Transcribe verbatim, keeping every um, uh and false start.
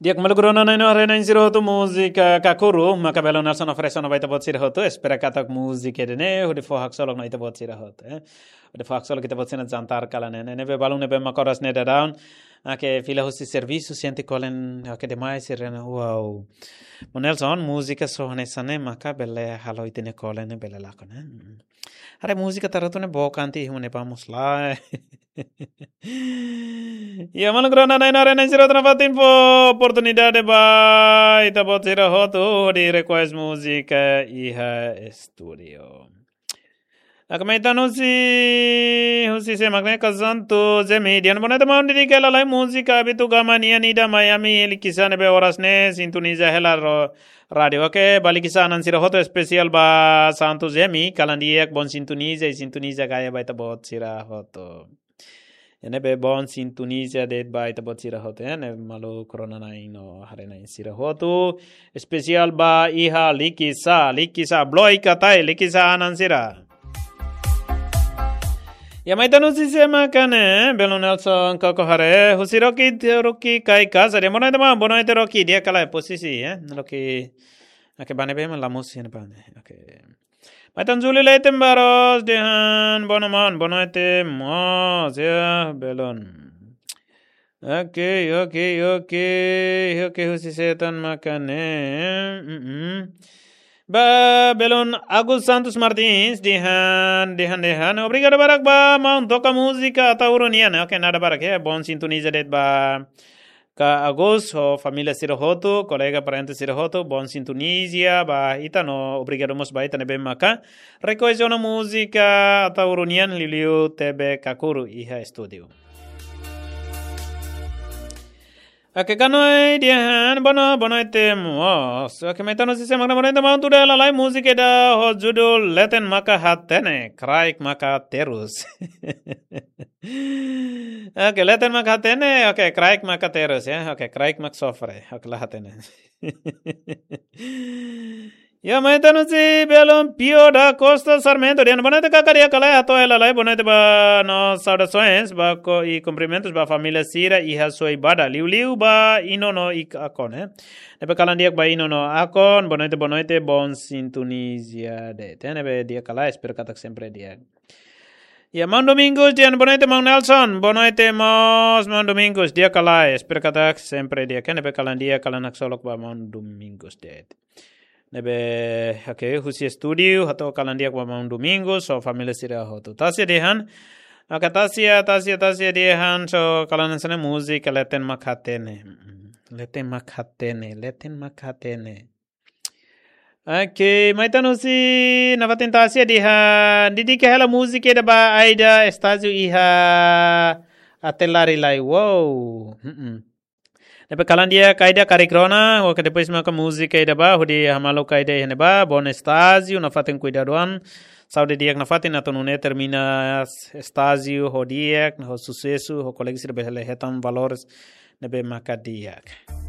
Di'ak maluk rona-na'in no haree-na'in sira hotu, múzika Kakuru maka belun Nelson oferese ona ba ita-boot sira hotu. Espera katak múzika ida-ne'e hodi fó haksolok ona ita-boot sira hotu, eh. Hodi fó haksolok ita-boot sira-nia jantar kalan ne'e. Ne'ebé balun ne'ebé mak oras ne'e daudaun, ah, ke fila husi servisu, sente kolen, ah, ke demais sira-ne'e. Wow. Maun Nelson, múzika só hanesan ne'e maka bele halo ita-nia kolen ne'e bele lakon, eh. Haree múzika tara tu ne bo kanti hune pamus lai. Ya, maluk rona-na'in no haree-na'in sira hotu, nafatin fó oportunidade ba ita-boot sira hotu hodi request múzika iha estúdiu. Aka mai ita-nia husi, husi sé mak ne'e, Ka Santu Zemi dehan: Boa noite maun, dedika hela lai múzika Abitu Gama nian ida Miami, Likisá, ne'ebé oras ne'e sintoniza hela ro-, rádiu. Oke, ba Likisá-an sira hotu, espesiál ba Santu Zemi, kalan di'ak, bom sintonia, i sintonia gaya ba ita-boot sira hotu. Ne'ebé bom sintonia de'it ba ita-boot sira hotu, eh, ne'e maluk rona-na'in no haree-na'in sira hotu. Espesiál ba iha Likisá, Likisá, Bloika Tae, Likisá-an sira. Ya, mai ita-nia husi sé mak ne'e, belun Nelson, koko haree, husi Rocky, Rocky Kai Kasa dehan: Boa noite maun, boa noite Rocky, di'ak ka lae posisi, eh, Rocky, oke, ba ne'ebé mak la mosu iha ne'ebá ne'e, oke. Mai ita-nia Júlio Leite Barros dehan: Boa noite maun, boa noite mós, ya, belun. Oke, oke, oke. Oke, husi sé tan mak ne'e. Mm-mm. Ba, belun Agus Santos Martins dehan, dehan, dehan: Obrigadu barak ba maun toka múzika Ataúru nian. Oke, nada barak, ya, bom sintonia de'it ba Ka Agus ho família sira hotu, kolega parente sira hotu, bom sintonia ba ita no obrigadu mós ba ita ne'ebé maka request ona múzika Ataúru nian, liuliu T V Kakuru iha estúdiu. Oke, Kanoi dehan: Boa no-, boa noite mós. Oke, mai ita-nia husi sé mak ne'e: Boa noite maun, tuda hela lai múzika ida ho judul Leten Maka Hatene, Kraik Maka Terus. Oke, Leten Maka Hatene, oke, Kraik Maka Terus, ya. Oke, Kraik Maka Sofre, oke, la hatene. Ya, mai ita-nia husi belun Pio da Costa Sarmento dehan: Boa noite kaka, di'ak ka lae, hato'o hela lai boa noite ba no saudações ba ko-, i kumprimentus ba família sira iha Soibada, liuliu ba Ino no Ikakon, eh. Ne'ebé kalan di'ak ba Ino no Akon, boa noite, boa noite, bom sintonia de'it. Ne'ebé di'ak ka lae, espera katak sempre di'ak. Ya, maun Domingos dehan: Boa noite maun Nelson, boa noite mós maun Domingos, di'ak ka lae, espera katak sempre di'ak, ne'ebé kalan di'ak, kalan haksolok ba maun Domingos de'it. Ne'ebé, oke, husi estúdiu, hato'o kalan di'ak ba maun Domingos ho família sira hotu. Tasia dehan, oke, Tasia, Tasia, Tasia dehan, so kalan hanesan ne'e múzika Leten Maka Hatene. Mm-mm. Leten Maka Hatene, Leten Maka Hatene. Oke, mai ita-nia husi nafatin Tasia dehan: Dedika hela múzika ida ba Aida Estácio iha Atelari lai. Wow. Mm-mm. Ne'ebé kalan di'ak Aida, karik rona, oke, depois maka múzika ida ba, hodi hamaluk Aida iha ne'ebá, bom estágio, nafatin kuidadu an, saúde di'ak nafatin, atu nune'e termina estágio ho di'ak, ho susesu, ho kolega sira bele hetan valores ne'ebé maka di'ak.